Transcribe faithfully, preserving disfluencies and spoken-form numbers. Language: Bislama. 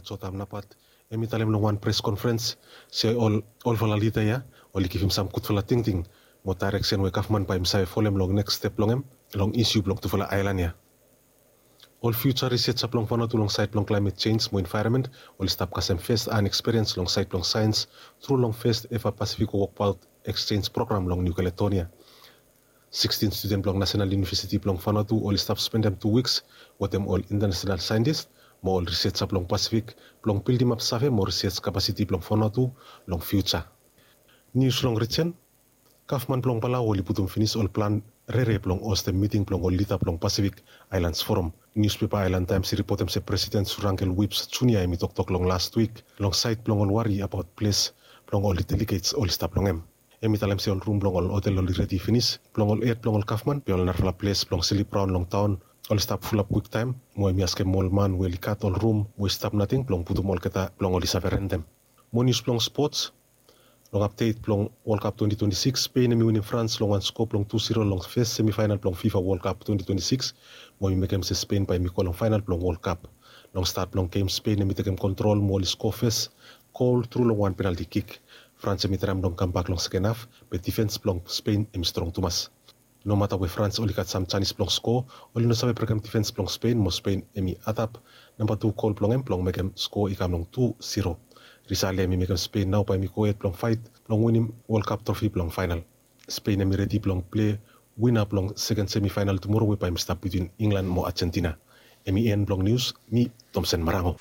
Jotham Napat, em i talem long wan pres konferens se ol olfala lida ya oli givim sam gudfala tingting mo daereksen we gavman bae i save folem long neks step blong em long isiu blong tufala aelan ya. Ol fiuja risetja blong Vanuatu long saed blong klaemet jenj mo envaeronmen oli stap kasem fes an ekspiriens long saed blong saens tru long fes eva Pasifik Wokbaot Eksjenj Program long Niu Kaledonia. Sikstin studen blong Nasenal Iunivesiti blong Vanuatu oli stap spendem tu wiks wetem ol intanasenal saentis mo ol risetja blong Pasifik blong bildimap save mo riset kapasiti blong Vanuatu long fiuja. Nius long rijen. Gavman blong Palau oli putum finis ol plan rere blong hostem miting blong ol lida blong Pasifik Aelans Foram. Niuspepa Aelan Taems i ripotem se Presiden Surangel Whipps Junia hem i toktok long las wik long saed blong ol wari abaot ples blong ol delegets oli stap long hem. Hem i talem se ol rum blong ol hotel oli redi finis blong ol hed blong ol gavman be ol narafala ples blong slip raon long taon oli stap fulap kwiktaem mo hem i askem ol man we oli gat ol rum we i stap nating blong putum olgeta blong oli save rentem. Mo nius blong spots. Long apdet blong Wol Kap twenti twenti sikis, Spen hem i winim Frans long wan sko blong tu siro long fes semifaenal blong Fifa Wol Kap twenti twenti sikis mo hem i mekem se Spen bae hem i go long faenal blong Wol Kap. Long stat blong gem Spen hem i tekem kontrol mo oli sko fes gol tru long wan penalti kik. Frans hem i traem blong kambak long seken haf be difens blong Spen hem i strong tumas. Nomata we Frans oli gat sam janis blong sko, oli no save brekem difens blong Spen mo Spen hem i adap namba tu gol blong hem blong mekem sko i kam long tu siro. Risal ya hem i mekem Spen nao bae hem i gohed blong faet blong winim Wol Kap trofi blong faenal. Spen hem i redi blong pilei wina blong seken semifaenal tumoro we bae hem i stap bitwin Inglan mo Ajentina. Hem i en blong nius. Mi Tomsen Marango.